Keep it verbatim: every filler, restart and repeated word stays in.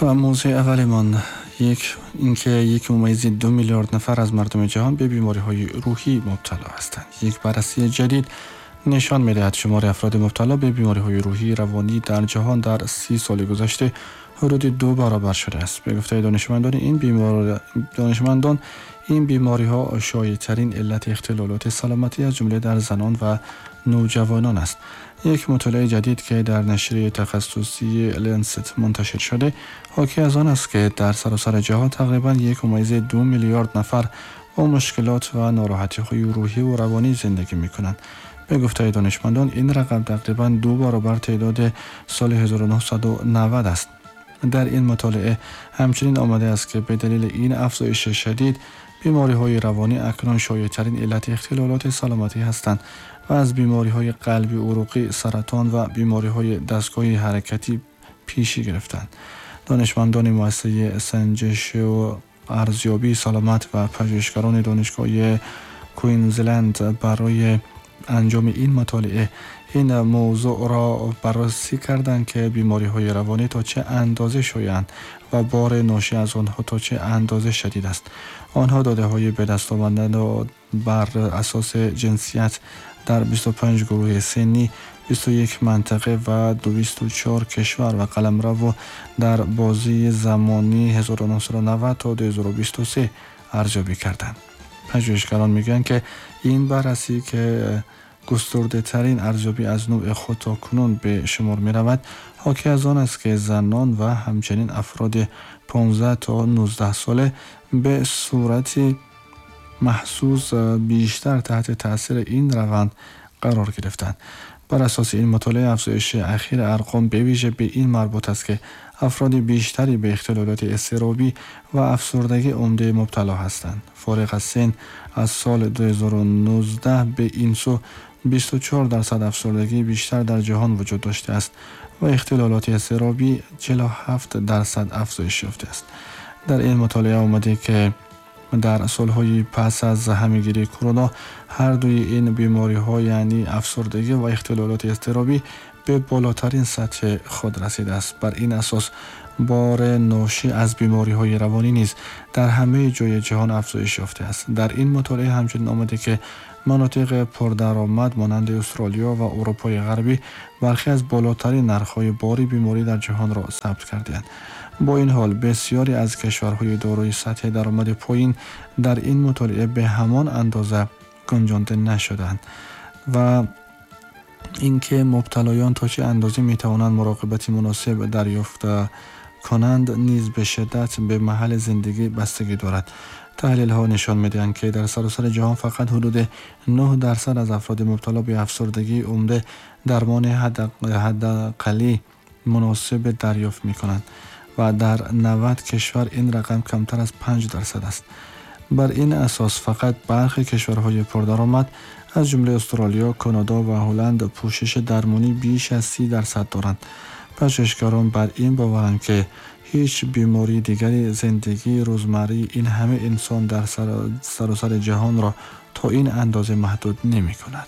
و موضوع اولمان یک اینکه یک ممیز دو میلیارد نفر از مردم جهان به بیماری های روحی مبتلا هستند. یک بررسی جدید نشان می‌دهد شمار افراد مبتلا به بیماری های روحی روانی در جهان در سی سال گذشته حدود دو برابر شده است. به گفته دانشمندان این بیمار دانشمندان این بیماری ها شایع ترین علت اختلالات سلامتی از جمله در زنان و نوجوانان است. یک مطالعه جدید که در نشریه تخصصی لنست منتشر شده حاکی از آن است که در سراسر جهان تقریباً یک ممیز دو میلیارد نفر با مشکلات و ناراحتی های روحی و روانی زندگی می کنند. به گفته دانشمندان این رقم تقریباً دو برابر تعداد سال هزار و نهصد و نود است. در این مطالعه همچنین آمده است که به دلیل این افزایش شدید بیماری های روانی اکنون شایع ترین علت اختلالات سلامتی هستند و از بیماری های قلبی عروقی، سرطان و بیماری های دستگاهی حرکتی پیشی گرفتند. دانشمندان مؤسسه سنجش و ارزیابی سلامت و پژوهشگران دانشگاه کوینزلند برای انجام این مطالعه این موضوع را بررسی کردند که بیماری های روانی تا چه اندازه شایع‌اند و بار ناشی از آنها تا چه اندازه شدید است. آنها داده های به دست آمده بر اساس جنسیت در بیست و پنج گروه سنی، بیست و یک منطقه و دویست و چهار کشور و قلمرو در بازی زمانی هزار و نهصد و نود تا دو هزار و بیست و سه ارزیابی کردند. پژوهشگران میگن که این بررسی که گسترده ترین ارزیابی از نوع خود تا کنون به شمار می رود، حاکی از آن است که زنان و همچنین افراد پانزده تا نوزده ساله به صورت محسوس بیشتر تحت تاثیر این روند قرار گرفتند. بر اساس این مطالعه افزایش اخیر ارقام به ویژه به این مربوط است که افراد بیشتری به اختلالات اضطرابی و افسردگی عمده مبتلا هستند. فارغ از سن از سال دو هزار و نوزده به این سو بیست و چهار درصد افسردگی بیشتر در جهان وجود داشته است و اختلالات اضطرابی چهل و هفت درصد افزایش یافته است. در این مطالعه آمده که در سالهای پس از همه‌گیری کرونا هر دوی این بیماری‌ها یعنی افسردگی و اختلالات اضطرابی به بالاترین سطح خود رسیده است. بر این اساس بار ناشی از بیماری‌های روانی نیز در همه جای جهان افزایش یافته است. در این مطالعه همچنین آمده که مناطق پردرآمد مانند استرالیا و اروپای غربی برخی از بالاترین نرخ‌های بار بیماری در جهان را ثبت کرده‌اند. با این حال بسیاری از کشورهای دارای سطح درآمد پایین در این مطالعه به همان اندازه گنجانده نشدند و اینکه مبتلایان تا چه اندازه می‌توانند مراقبت مناسب دریافت کنند نیز به شدت به محل زندگی بستگی دارد. تحلیل ها نشان می‌دهند که در سراسر جهان فقط حدود نه درصد از افراد مبتلا به افسردگی عمده درمان حداقلی مناسب دریافت می‌کنند و در نود کشور این رقم کمتر از پنج درصد است. بر این اساس فقط برخی کشورهای پردرآمد از جمله استرالیا، کانادا و هلند پوشش درمانی بیش از سی درصد دارند. پژوهشگران بر این باورند که هیچ بیماری دیگری زندگی روزمره این همه انسان در سراسر جهان را تا این اندازه محدود نمی کند.